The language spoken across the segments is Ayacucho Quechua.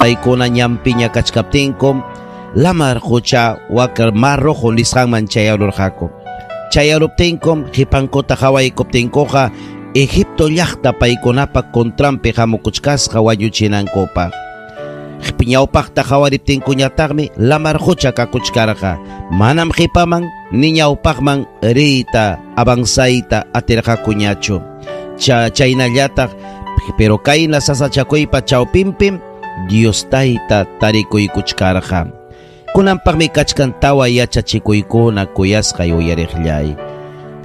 Paykuna ñanpiña kachkaptinkum lamar qucha wak Mar Rojo nisqanman chayarurqaku. Chayaruptinkum qipankuta qawaykuptinkuqa Egipto llaqta paykunapa contranpi hamukuchkasqa wañuchinankupaq. Ñawpaqta qawariptinkuñataqmi lamar qucha kakuchkarqa. Manam qipaman ni ñawpaqman riyta avanzayta atirqakuñachu. Chaynallataq, pero kayna sasachakuypa chawpinpim Dios tayta tarikuykuchkarqa. Kunanpaqmi kachkan tawa yachachikuykuna kuyasqay uyariqllay.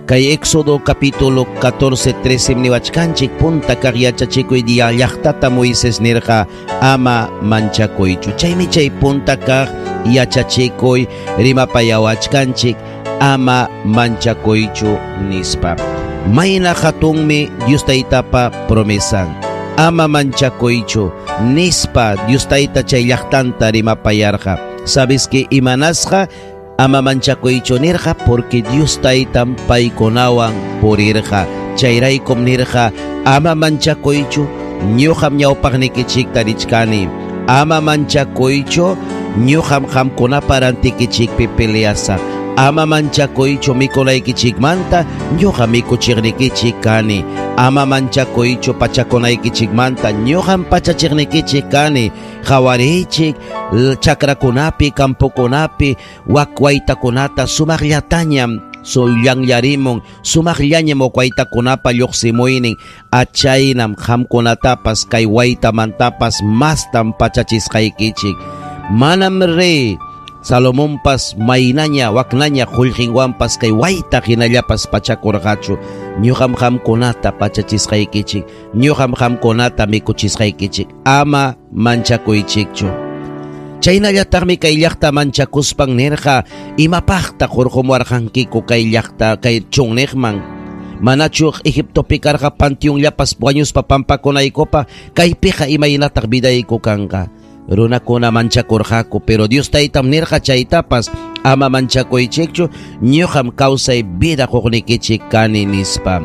Kay Éxodo capítulo 14, 13 niwachkanchik punta kaq yachachikuy dia llaqtata Moisés nirqa ama manchakuychu. Chaymi chay punta kaq yachachikuy rimapayawachkanchik ama manchakuychu nispa. Mayna hatunmi Dios taytapa promesan. Ama manchakuychu nispa Dios tayta chay llaqtanta rimapayarqa. ¿Sabes que imanasqa? Ama manchakuychu nirqa porque Dios taytam paykunawan purirqa. Chayraykum nirqa ama manchakuychu ñuqam ñawpaqnikichikta richkani. Ama manchakuychu ñuqam qamkunapa rantikichikpi peleasaq. Ama manchakuychu mikunaykichikmanta ñuqa mikuchiqnikichik kani. Ama manchakuychu pachakunaykichikmanta ñuqam pachachiqnikichik kani. Qhawariychik chakrakunapi, campokunapi, wak waytakunata sumaqllatañam sullanllarimun, sumaqllañam waytakunapa lluqsimuynin, achaynam qamkunatapas kay waytamantapas mastam pachachisqaykichik. Manam rey Salomonpas maynaña waknaña qullqinwanpas kay wayta hinallapas pachakurqachu. Ñuqam qamkunata pachachisqaykichik, ñuqam qamkunata mikuchisqaykichik. Ama manchakuychikchu. Chaynallataqmi kay llaqta manchakuspan nirqa imapaqta hurqumuwarqankiku kay llaqta kay chunniqman. Manachu Egiptopi karqa panteonllapas wañuspa pampakunaykupa kaypiqa imaynataq vidayku kanqa. Runakuna manchakurqaku, pero Dios taytam nirqa chaytapas ama manchakuychikchu, ñuqam kawsay vida quqnikichik kani nispa.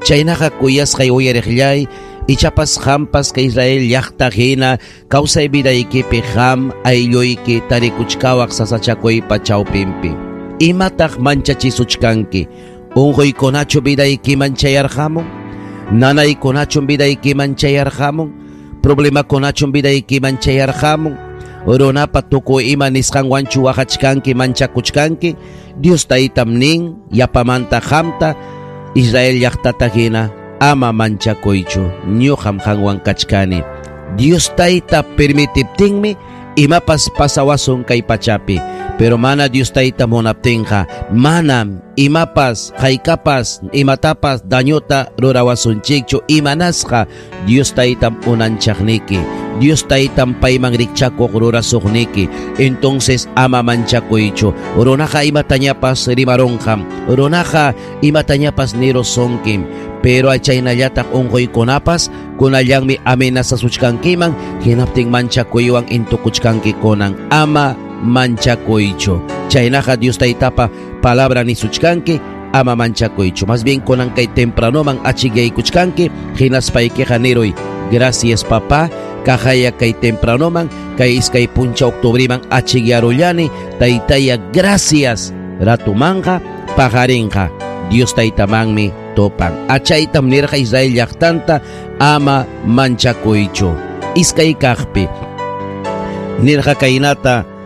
Chaynaqa kuyasqay uyariqllay, ichapas qampas kay Israel llaqta hina kawsay vidaykipi qam aylluyki tarikuchkawaq sasachakuypa chawpinpi. Imataq manchachisuchkanki? Unquykunachu vidaykiman chayarqamun? Nanaykunachu vidaykiman chayarqamun? Problemakunachum vidaykiman chayarqamun? Runapa tukuy ima nisqanwanchu waqachkanki manchakuchkanki? Dios taytam nin yapamanta qamta Israel llaqtata hina ama manchakuychu, ñuqam qanwan kachkani. Dios tayta permitiptinmi imapas pasawasun kay pachapi, pero mana Dios tayta munaptinqa manam imapas haykapas imatapas dañota rurawasunchikchu. Imanasqa Dios taytam unanchaqniki, Dios taytam payman rikchakuq rurasuqniki. Entonces ama manchakuychu. Runaqa imatañapas rimarunqam, runaqa imatañapas nirusunkim, pero chaynallataq unquykunapas kunallanmi amenazasuchkankiman, hinaptin manchakuywan intukuchkanki kunan. Ama manchakuychu. Chaynaqa Dios taytapa palabra nisuchkanki, ama manchakuychu. Más bien kunan kay tempranoman achikyaykuchkanki, hinaspaykiqa niruy, gracias papá, kajaya kay tempranoman, kay iskay puncha octubriman achikyarullani, taytaya gracias, ratumanqa paqarinqa Dios taytamanmi topan. Achaytam nirqa Israel llaqtanta ama manchakuychu. Iskay kaqpi nirqa kaynata